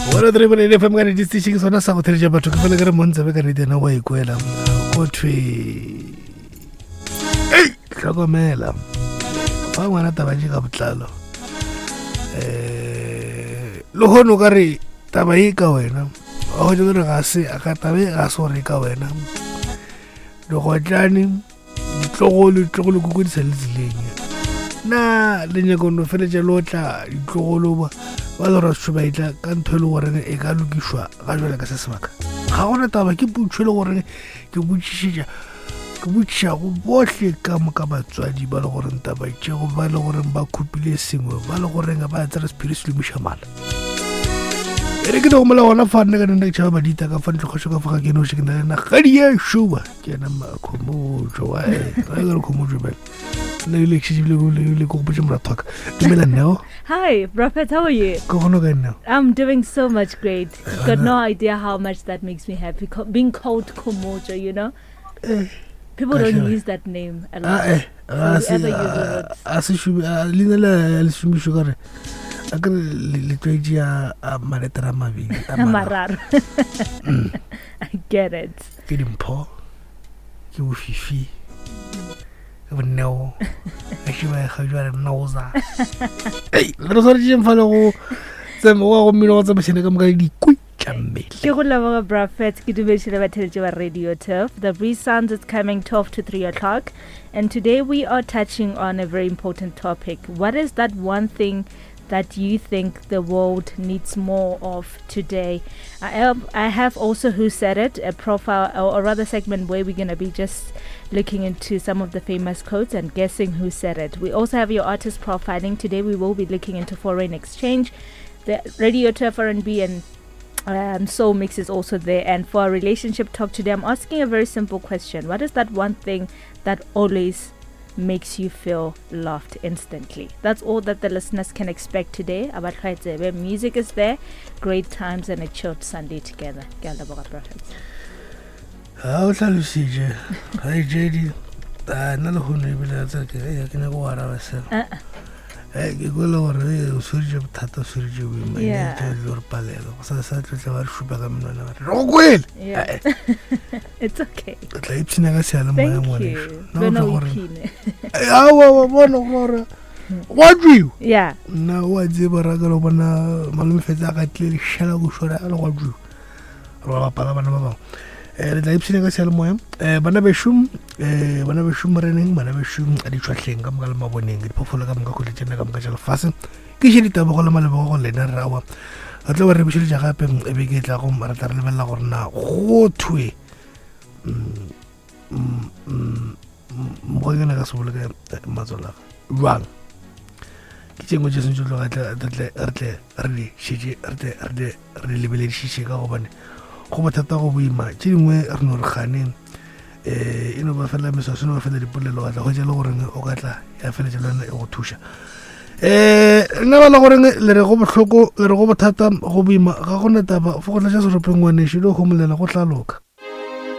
103.8 FM ka nnete station ke sona sa go theletša batho ke fele ke re montsebe ka nnete yena wa ikwela go thwe ei hlokomela fa ngwana taba tše ka botlalo um le kgone o ka re taba e ka wena wa go gore ga se ka taba e ga se gore e ka wena digotlane ditlogolo ditlogolo koko di sa le tseleng na le nyako no feletša le otla ditlogolo ba ba le gore ba etla ka ntho e le goreng e ka lokišwa ga jale ka se sebaka ga gona taba ke putšho e le goreng ke botšišetša ke botšiša go bohle ka moka batswadi ba le goreng taba tšego ba le goreng ba khupile sengwe ba le goreng ba tsere sephiri se lomiša mala e re ke no gomola gona fa nna ka nna ke tšhaba badita ka fa ntlo kgošo ka fa ga ke noše ke na le nna gadi ya šuba ke yena makhomotšo wa e re khomotšo bele nna ile ke šetše le ko gopotše moratho wa ka dumela nneo. Hi, Prophet, how are you? Ke gona ka nneo. I'm doing so much great. Got no idea how much that makes me happy. Co being called Komojo, you know? Eh, People don't use that name a lot. Ah, eh, so whoever uses it. A se šome, leina le le šomišwe ka re a ke re le tlwaetše a maletere a mabedi a mararo. I get it. Ke dimpho, ke bofifi, ke bonneo, a šiba e ga jwale noza. Ei, re swanetše fa le go tsema go mmino go tsamaišana ka moka le dikwi tša mmele. Ke go leboga Prophet, ke dumediše le batheletši ba Radio Turf. The Breeze Sounds is coming 12 to 3 o'clock. And today we are touching on a very important topic. What is that one thing that you think the world needs more of today? I have, I have also Who Said It, a profile or, or rather segment where we're going to be just looking into some of the famous quotes and guessing who said it. We also have your artist profiling. Today we will be looking into foreign exchange, the Radio Turf R&B and Soul Mix is also there. And for our relationship talk today, I'm asking a very simple question. What is that one thing that always makes you feel loved instantly? That's all that the listeners can expect today. About where music is there, great times and a chilled Sunday together. Ke a leboga, Prophets. Ga o tlhalositše gaetšedi nna le kgono ebile a tsere ke ke nyako go araba selo ke kwele gore o sweritše bothata o sweritše boima gore palelo go sa sa tlotla ba re šupa ka menwana ba re go kwele. It's okay. O tla ipshina ka seyalemoya ngwaneso gore awa bona gore go a tšwiwa Nna o a tseba raka le bona malome fetsa a katlile lešala go šora a le go a tšwiwa re ba bapala bana ba bangwe. Re tla ipshina ka seyalemoya bana bešo, bana bešo moreneng, bana bešo ditšhwahleng ka moka le maboneng, diphoofolo ka moka kgole tšena ka moka tša lefase. Ke še ditebogo le malebogo go lena re awa re tlo ba re bušeletša gape beke e tlago re tla re lebelela gore na go thwe mokgwa ka se boloke matswalo a jwang. Ke tše nngwe tše sentse tloga re tle re di šetše re tle re di re di lebeledišiše ka gobane go bothata go boima tše dingwe re no re gane e no ba fela meswaso e no ba fela dipolelo wa tla hwetša le goreng o ka tla ya feletša le wena e go thuša. Nna ba le goreng le re go bohloko le re go bothata go boima ga gona taba fo go tlatša seropeng ngwanešu le go homolela go tla loka.